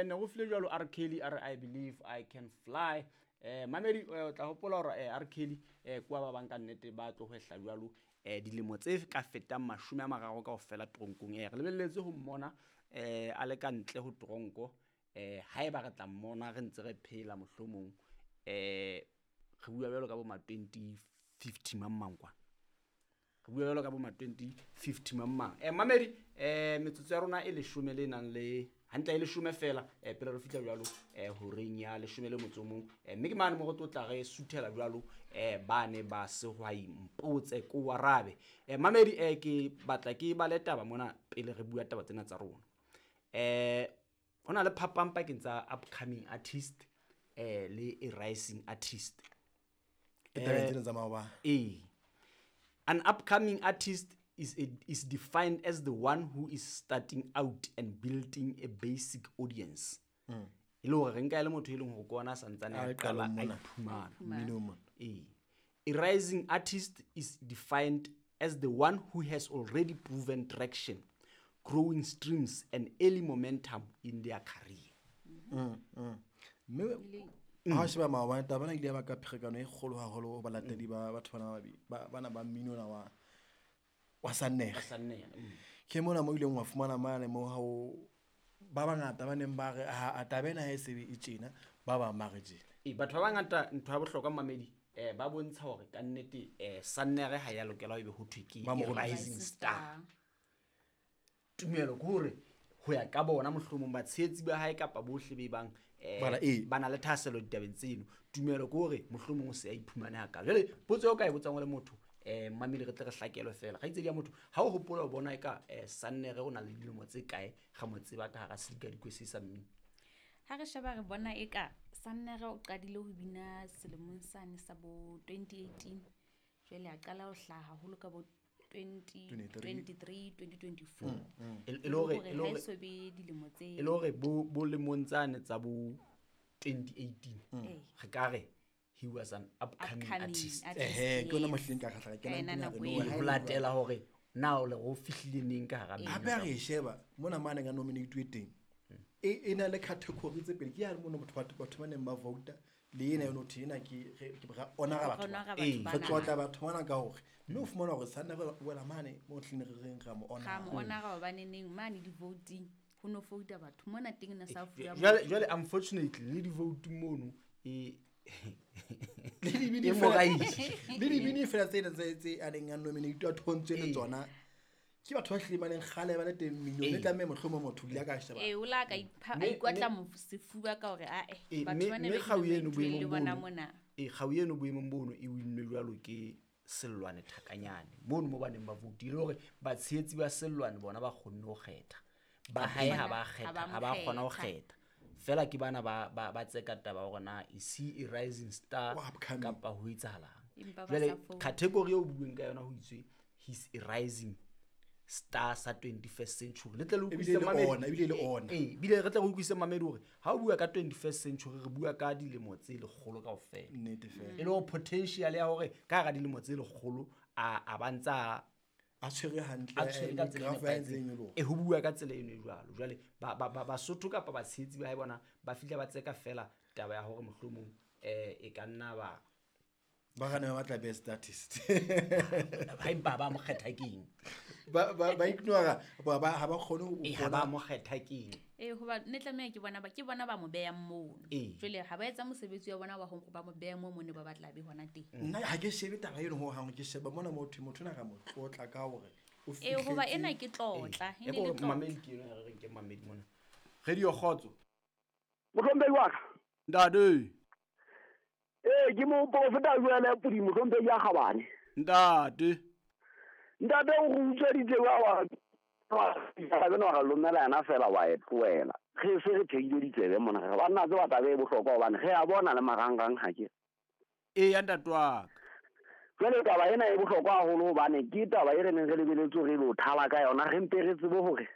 Ne go file jalo R Kelly a re, "I Believe I Can Fly." Mamedi, o tla hopola hore R Kelly kwa ba bang ka nnete ba tlo hwehla jwalo dilemo tse ka fetang 30 kaofela tronkong. Re lebelletse ho mmona a le ka ntle ho tronko. Haeba re tla mmona re ntse re phela, mohlomong re bua jwalo ka bo ma 2050 mang mang kwana, re bua jwalo ka bo ma 2050 mang mang. Mamedi, metsotso ya rona e 10 le nang le hantle e 10 fela pele re fihla jwalo horeng ya 11. Mme ke mane mo re tlo tla re suthela jwalo ba ne ba sehwai mpotse ko arabe. Mamedi, ke batla ke bale taba mona pele re bua taba tsena tsa rona. Ho na le phapang pakeng tsa upcoming artist le a rising artist. Ke tabeng tsena tsa maobane. Ee. An upcoming artist is defined as the one who is starting out and building a basic audience. E le hore re nka e le motho e leng hore ke ona a santsane A a le qala qalong a mona. iphumana. Mmino mona. Ee. A rising artist is defined as the one who has already proven traction, growing streams and early momentum in their career. Mme ha o sheba maobane, taba ena e ile ya baka pherekano e kgolo haholo ho balatedi ba batho bana bana ba mmino ona wa Sannere. Wa Sannere. Ke mona mo ileng wa fumana mane mo ha o ba bangata ba neng ba re ha a taba ena ha e sebe e tjena, ba bang ba re tjena. Ee, batho ba bangata, ntho ya bohlokwa mamedi, ba bontsha hore ka nnete Sannere ha ya lokela ho ebe ho thwe ke Ba mo a rometse. rising star. Tumelo ke hore ho ya ka bona mohlomong batshehetsi ba hae kapa bohle be bang Bana, ee. ba na le thahasello ditabeng tseno, tumelo ke hore mohlomong o se a iphumane hakalo. Jwale potso eo ka e botsang o le motho, mamedi, re tle re hlakelwe fela kgaitsedi ya motho, ha o hopola o bona eka Sannere o na le dilemo tse kae ga mo tseba ka hara sedikadikwe se sa mmino? Ha re sheba, re bona eka Sannere o qadile ho bina selemong sane sa bo 2018, jwale a qala ho hlaha haholo ka bo 2023, 2024. E le hore Hore e le ha hore e so be dilemo tse e le hore bo lemong tsane tsa bo 2018 Ee. re ka re he was an upcoming Upcoming artist. artist, Ehe, ke yona yes. mohleng ka kgahla ka Ka kena yona ntweng ya nako re, eo. no, ha Ho e le latela hore na o le go fihlile neng ka hara mmino. Hape ha re e sheba mona mane ka nominate teng, e na le category tse pedi. Ke ya mona batho ba neng ba vouta le ena yone, ho thwe ena ke ke ra honora batho Honora bana. batho Ee. bana. Re tlotla batho bana ka hore mme o fumana hore Sannere o wela mane mo tleng re reng ra mo Ra mo honora. honora hobane neng mane di-voting ho no vouta batho mona teng na sa fuwa Jwale unfortunately le di-vote mono e Le dibini e fela- moraile. le dibini fela tsena tse a neng a nominate a thontswe le Ee. tsona ke batho ba hlileng ba neng kgale ba le teng mminong. Ee. Le tlameha mohlomong motho o ile a ka sheba. Ee, o la ka a ikwatla sefuba ka hore, ae, Ee, batho ba ne mme ba kgau eno nominate-ilwe boemong le bona bono, mona. ee, kgau eno boemong bono e winnwe jwalo ke Sellwane Thakanyane mono mo ba neng ba voutile hore batshehetsi ba Sellwane bona ba kgonne ho kgetha ba hae, ha ba Ha kgetha ba mo ha ba kgona ho kgetha. kgetha fela ke bana ba tseka taba hore na is he a rising star Wa upcoming. kapa ho etsahalang. Empa ba Jwale sa founa. category eo bueng ka yona ho itswe he's a rising star sa 21st century, le tle le Ebile utlwisise le mamedi. ona, ebile le ona. Ee, ebile re tle re utlwisise mamedi hore ha o bua ka 21st century re bua ka dilemo tse 100 kaofela. Nnete fela. E le hore potential ya hore ka hara dilemo tse 100 a ba ntsa a tshwere hantle, a tshwere ka tsela e graph ya hae e ntse e nepahetseng. nyoloha. E ho bua ka tsela eno e jwalo. Jwale Basotho kapa batshehetsi ba hae bona ba fihla ba tseka fela taba ya hore mohlomong e ka nna ba Ba gane ba batla best artist. Ha empa ba mo kgetha keng? Ba ignora, ha ba kgone ho Ee, ha ba bona. mo kgetha keng? Ee, hoba ne tlameha ke bona ba, ke bona ba mo behang mono. Ee. Jwale ha ba etsa mosebetsi wa bona wa hore ba mo behe moo mo ne ba batla be hona teng. Nna ha ke shebe taba eno hohang, ke sheba mona motho, motho ena ra mo tlotla ka hore o Ee, hoba fihletse- ena ke tlotla, Ee. e ne E le ko tlotla. mamedi ke eno ya re reng ke mamedi mona. Radio Kgotso. Mohlomphehi wa ka. Ntate. Ee, ke moprofeta Joel Pudi, mohlomphehi ya Kgabane. Ntate. Ntate o re utsweditse wa wa wa re lomela yena fela wa e tlohela. Re se re theile ditsebe mona, re banna tseba taba e bohlokwa hobane re a bona le marangrang ha ke. Ee, ya ntate wa ka. Jwale taba ena e bohlokwa haholo hobane ke taba e re neng re lebeletse hore re lo thala ka yona, re mpe re tsebe hore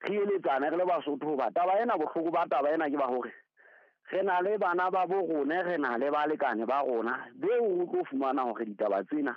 re eletsane re le Basotho hoba taba ena, bohloko ba taba ena ke ba hore re na le bana ba bo rona, re na le balekane ba rona beo o tlo fumana hore ditaba tsena